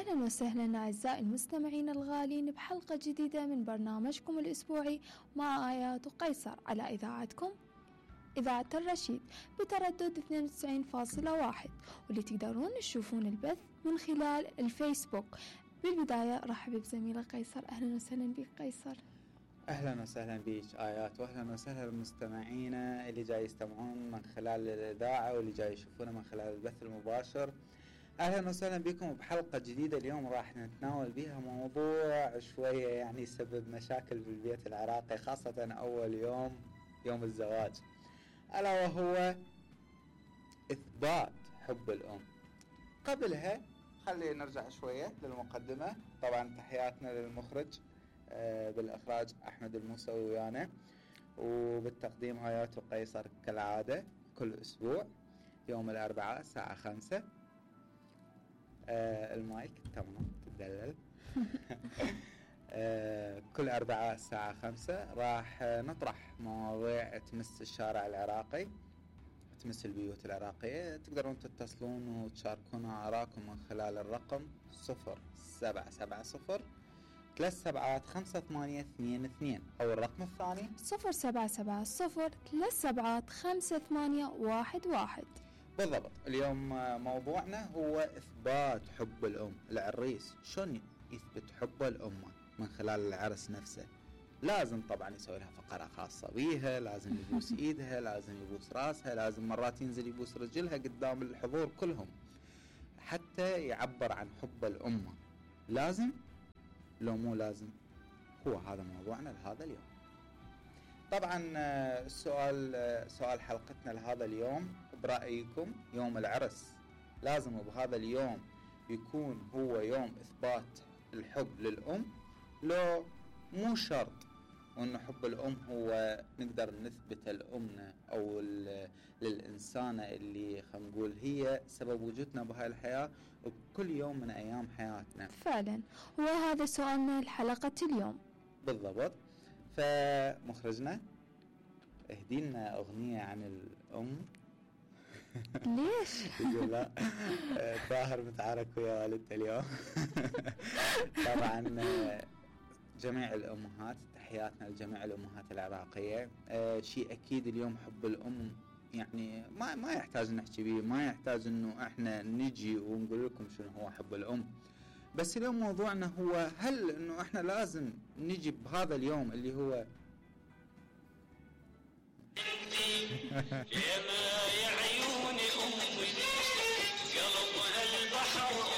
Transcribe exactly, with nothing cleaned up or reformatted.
أهلا وسهلا أعزائي المستمعين الغالين بحلقة جديدة من برنامجكم الأسبوعي مع آيات وقيصر على إذاعتكم إذاعة الرشيد بتردد اثنين وتسعين فاصلة واحد، واللي تقدرون تشوفون البث من خلال الفيسبوك. بالبداية رحب بزميلة قيصر. أهلا وسهلا بك قيصر. أهلا وسهلا بيك آيات، وأهلا وسهلا بمستمعينا اللي جاي يستمعون من خلال الإذاعة واللي جاي يشوفونا من خلال البث المباشر. أهلا وسهلا بكم بحلقة جديدة. اليوم راح نتناول بها موضوع شوية يعني يسبب مشاكل بالبيت العراقي، خاصة أول يوم يوم الزواج، ألا وهو إثبات حب الأم. قبلها خلينا نرجع شوية للمقدمة. طبعا تحياتنا للمخرج آه بالإخراج أحمد الموسوي ويانا، وبالتقديم آيات وقيصر كالعادة كل أسبوع يوم الأربعاء الساعة خمسة. آه المايك تمام تدلل. آه كل أربعاء الساعة خمسة راح نطرح مواضيع تمس الشارع العراقي، تمس البيوت العراقية. تقدرون تتصلون وتشاركون آراءكم من خلال الرقم صفر سبعة سبعة صفر ثلاث سبعات خمسة ثمانية اثنين اثنين، أو الرقم الثاني صفر سبعة سبعة صفر ثلاث سبعات خمسة ثمانية واحد واحد. بالضبط. اليوم موضوعنا هو إثبات حب الأم. العريس شلون يثبت حبه لأمه من خلال العرس نفسه؟ لازم طبعا يسوي لها فقرة خاصة بيها، لازم يبوس إيدها، لازم يبوس راسها، لازم مرات ينزل يبوس رجلها قدام الحضور كلهم حتى يعبر عن حبه لأمه. لازم لو مو لازم؟ هو هذا موضوعنا لهذا اليوم. طبعا السؤال سؤال حلقتنا لهذا اليوم، برأيكم يوم العرس لازم بهذا اليوم يكون هو يوم إثبات الحب للأم، لو مو شرط وأن حب الأم هو نقدر نثبت لأمنا أو للإنسانة اللي خلينا نقول هي سبب وجودنا بهاي الحياة وبكل يوم من أيام حياتنا؟ فعلا هو هذا سؤالنا الحلقة اليوم بالضبط. فمخرجنا اهدينا أغنية عن الأم. ليش؟ يقول لا طاهر متعارك ويا والدته اليوم. طبعا جميع الأمهات، تحياتنا لجميع الأمهات العراقية. آه شيء أكيد اليوم حب الأم يعني ما ما يحتاج نحكي بيه، ما يحتاج إنه إحنا نجي ونقول لكم شنو هو حب الأم. بس اليوم موضوعنا هو هل إنه إحنا لازم نجي بهذا اليوم اللي هو يا عيون